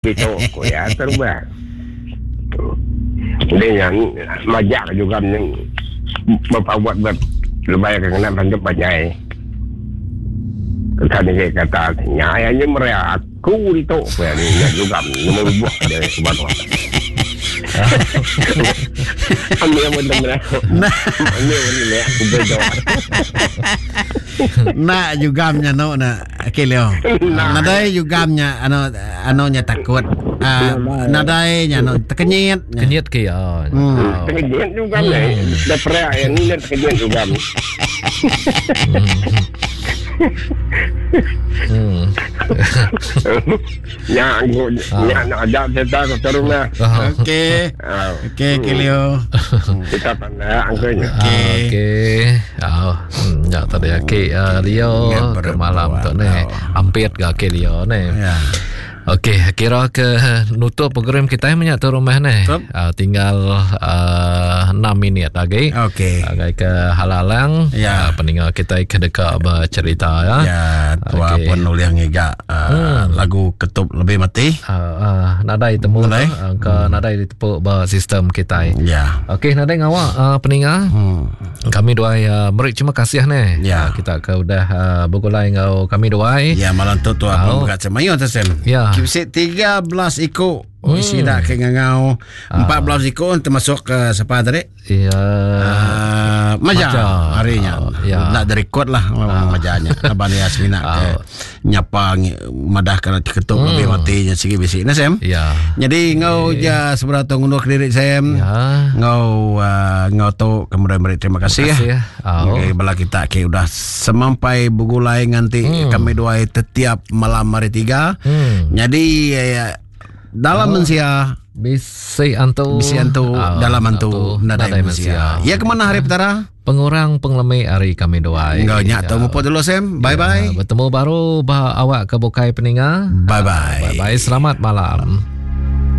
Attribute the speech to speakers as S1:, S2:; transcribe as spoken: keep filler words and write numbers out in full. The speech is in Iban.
S1: Itu ku iya terubah. Udah nya majak juga bepaut ba lebai ke ngena tangkap panjai. Kata ni kata nya iya nya meri aku ditu ku iya nya juga nemu buah dia sebanua. Ambil pun temen aku. Ambil pun temen aku beda.
S2: Nak jugamnya no na okay Leo. Nadai jugamnya ano ano nya takut. Uh, nadai nya no tekenyit.
S3: Kenyit ke ya.
S1: Hmm. Tekenyit juga ni. Dah perak yang ni tekenyit juga.
S3: Hmm.
S1: Ya, ya nak ajak kita ke rumah.
S2: Okey. Okey, okay, Leo.
S1: Kita pandai angkanya.
S2: Okey.
S3: Okey. Oh, ya tadi okey Leo ke malam tu ni. Ampit ga okey Leo ni.
S2: Ya.
S3: Okey, kira ke nutup program kita banyak tu rumah ni. Uh, tinggal uh, enam minit lagi.
S2: Okey.
S3: Agai ke halalang.
S2: Ya.
S3: Uh, pendengar kita ke dekat bercerita ya.
S2: Ya, tua
S3: okay.
S2: Pun nulis ngiga uh, hmm. lagu ketup lebih mati.
S3: Uh, uh, nadai temu
S2: nadai
S3: uh, ke hmm. nadai ditepuk ba sistem kita.
S2: Ya.
S3: Okey, nadai ngawak uh, pendengar.
S2: Hmm.
S3: Kami dua uh, meri terima kasih ni.
S2: Ya.
S3: Uh, kita ke udah uh, bergulai ngau kami dua.
S2: Ya, malam tu tua pun buka cemayo tu Sam.
S3: Ya.
S2: Kipsi tiga belas ikut. Oh, isi dah ke ngangau empat belas ikut termasuk ke siapa tadi?
S3: Ya.
S2: Uh, Maja harinya.
S3: Uh, ya.
S2: Nak direkod lah uh. Majanya. Abang Yasmina ke nyapa madah kana ketuk hmm. lebih matinya sigi bisi. Nah Sam.
S3: Ya.
S2: Jadi ngau ja seberapa ngundur diri Sam.
S3: Ya.
S2: Ngau uh, ngau tu kemudian beri terima kasih,
S3: terima kasih
S2: ya.
S3: Oh.
S2: Okay, bala kita ke udah semampai begulai nganti hmm. kami dua setiap malam hari tiga.
S3: Hmm.
S2: Jadi ya, dalam
S3: oh.
S2: mensia
S3: bisi antu
S2: bisi antu
S3: oh,
S2: dalam antu nadai mensia. Ya kemana hari petara?
S3: Pengurang pengelemi hari kami dua.
S2: Enggak nyak temu pun dulu Sam. Bye bye.
S3: Ya, bertemu baru bah awak ke bukai peninga.
S2: Bye bye.
S3: Bye bye. Selamat malam.